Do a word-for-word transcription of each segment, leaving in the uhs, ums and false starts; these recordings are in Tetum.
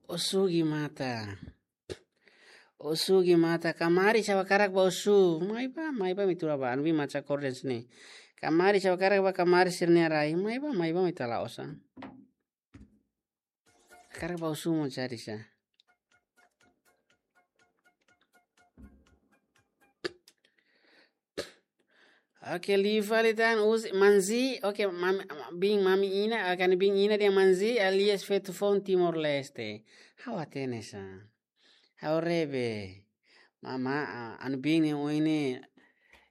Osu gimata. Osu gimata. Kamaris ha'u hakarak bá osu. Mai bá, mai bá, imi tuur bá. Anu bin maca korden sini. Kamaris ha'u hakarak bá kamaris sira-nia rai. Mai bá, mai bá, imi tuur la'ós. Hakarak bá osu mós jadi sa. Oke, liu fali tan uzi, Manzi, oke, mami, bin mami Ina, oke, anu bin Ina dehan Manzi, alias feto foun Timor-Leste. Ha'u hatene sa. Ha'u rebe. Mama, a, anu bin ne'e ohin ne'e,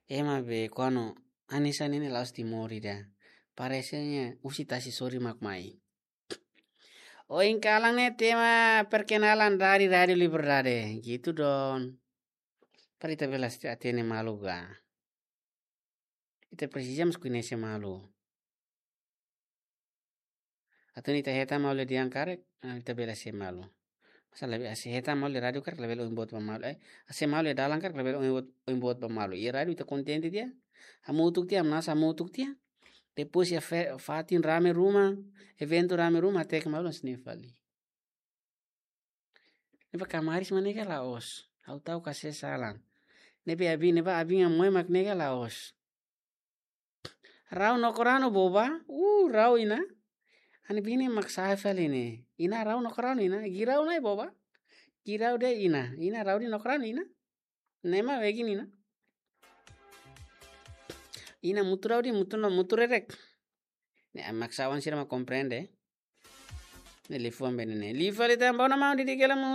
ema be, kuandu, hanesan ne'e la'ós Timor ida. Parese ne'e, husi tasi sorin mak mai. Ohin kalan ne'e tema perkenalan dari Rádio Liberdade. Gitu, Don. Para ita bele hatene malu ka. Ita presiza mós koñese malu. Atu nune'e ita hetan malu iha dehan karik, ah, ita bele hasai malu. Masalah be hasai hetan malu iha rádiu karik labele ohin boot ba malu. Eh, hasai malu iha dalan karik labele ohin boot, ohin boot ba malu. Iha rádiu ita kontente tiha. Hamutuk tiha, hamnasa hamutuk tiha. Depois iha fe-, fatin rame ruma, eventu rame ruma, hateke malu hanesan ne'e fali. Ne'ebé kamaris mak nega la'ós. Ha'u ta'uk ka sala. Ne'ebé abin, ne'ebé abin nia moe mak nega la'ós. Rau no korano boba. Uh, rau Ina. Anu bin ne'e mak sa'e fali ne'e. Ina rau no korano Ina. Girau nai boba. Girau de'it Ina. Ina rau de'it no korano Ina. Ne'e mak wegin Ina. Ina mutu rau de'it mutu no mutu rerek. Ne'e mak sa'e oan sira mak komprende. Ne'e liafuan be ne'e. Liu fali tan bá ona mau didi kela mu.